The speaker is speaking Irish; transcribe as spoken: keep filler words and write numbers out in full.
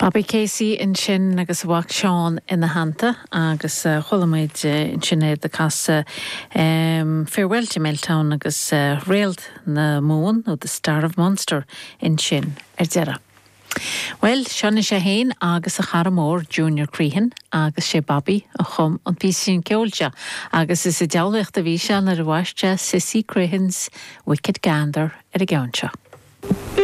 Bobby Casey ansin agus a mhac Seán ina theannta agus uh, chuala muid uh, ansin é ag casadh um, Farewell to Milltown agus uh, Réalt na Mumhan nó The Star of Munster ansin ar deireadh. Well, seo é féin agus a chara mór Junior Crehan agus sé Bobby a chum an píosa ceoil seo, agus is i dealaíocht a bhí sé nuair a bhaist sé Sissy Crehan's Wicked Gander ar an gceann seo.